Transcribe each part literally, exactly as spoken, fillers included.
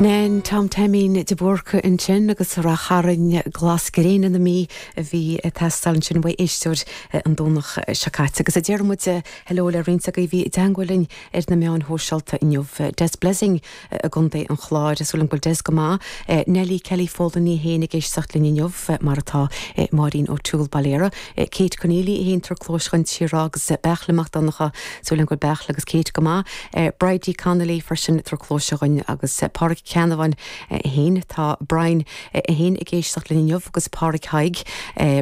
Nan Tom Taimín de Búrca ansin agus Ráth Chairn Glas Gréine na Mí a bhí ag teastáil ansin uaidh éisteoir an Domhnach seo caite. Agus a deir muid hello le roinnt agaibh bhí i dteagmháil linn ar na meáin shóisialta inniu. Des Blessing i gContae an Chláir súil agam go bhfuil Des go maith. Nelly Kelly Folan í féin ag éisteacht linn inniu mar atá Máirín O'Toole Bailera. Kate Conneely í féin tar clóis chun tíre agus Beachle Mac Donnacha súil agam go bhfuil Beachle agus Kate go maith. Bridie Connolly freisin tar clóis chugainn agus Pádraig Ceannabháin féin tá Brian féin ag éisteacht linn inniu agus Pádraig Haig,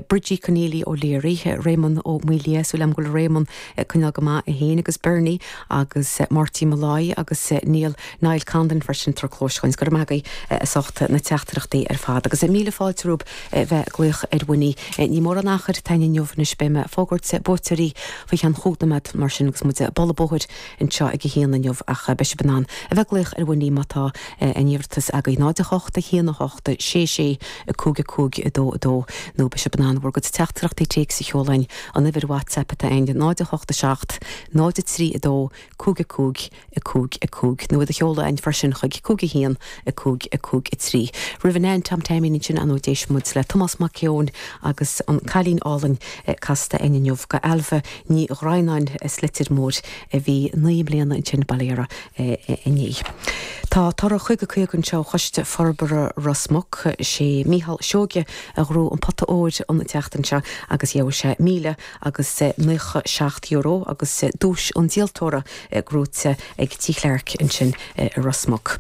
Bridgie Conneely O'Leary, Raymond Ó Maoilia súil agam go bhfuil Raymond coinneáil go maith féin agus Bernie agus Marty Malloy agus Neil Niall Condon freisin tar clóis chugainn go maith as ucht na teachtaireachtaí ar fad agus míle fáilte romhaibh bheith glaoch ar Winnie ní mór an achar tain inniu anois beidh mé ag fógairt buaiteoirí faoi cheann chúig nóiméad mar sin agus muid bualadh bóthair anseo ag a haon inniu ach beidh sibh in ann a bheith glaoch ar Winnie má tá an iarratas agaibh náid a hocht a haon a hocht sé sé a cúig a cúig a dó a dó nó beidh sibh in ann bhur gcuid teachtaireachtaí téacs a sheoladh an uimhir WhatsApp atá ann náid a hocht a seacht náid a trí a dó cúig a cúig a cúig a cúig nó iad a sheoladh againn freisin chuig cúig a haon a cúig a cúig a trí. Roimh an Tom Taimín sin an d'éist muid le Tomás Mac Eoin agus an Cailín Álainn casta againn inniu go Alva Ní Ghranáin as Leitir Móir a bhí naoi mbliana ansin Bailera inné. Tá toradh caoga caoga anseo Choiste Forbartha Ros Muc sé Mícheál Seoige a ghnóthaigh an pota óir an tseachtain seo agus gheobhaidh sé míle agus nócha seacht euro agus duais an díoltóra gnóthaithe ag Tí Chlark ansin i Ros Muc.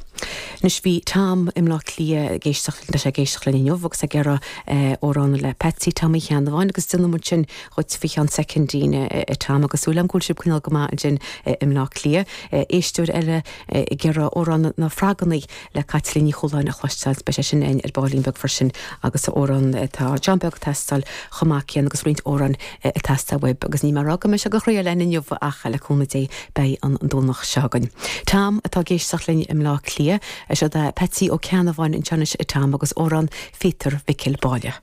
Anois bhí Tom i mBleá Cliath ag éisteacht leis ag éisteacht linn inniu agus ag iarraidh amhrán le Patsy Tommy Cheannabháin agus déanfaidh muid sin dhuit faoi cheann soicindín Tom agus súil agam go bhfuil sibh coinneáil go maith ansin i mBleá Cliath. Éisteoir eile ag iarraidh amhrán na Froggannaí le Caitlín Ní Chualáin a chloisteáil beidh sé sin againn ar baillín beag freisin agus amhrán tá John Beag teastáil chomh maith céanna agus roinnt amhrán ag teastáil uaibh agus ní mar go mbeidh sé go chroí le inniu ach le cúnamh Dé beidh an Domhnach seo againn. Tom atá ag éisteacht linn i mBleá Cliath seo Patsy Ó Ceannabháin anseo anois Tom agus amhrán Pheter Mhicil Báille.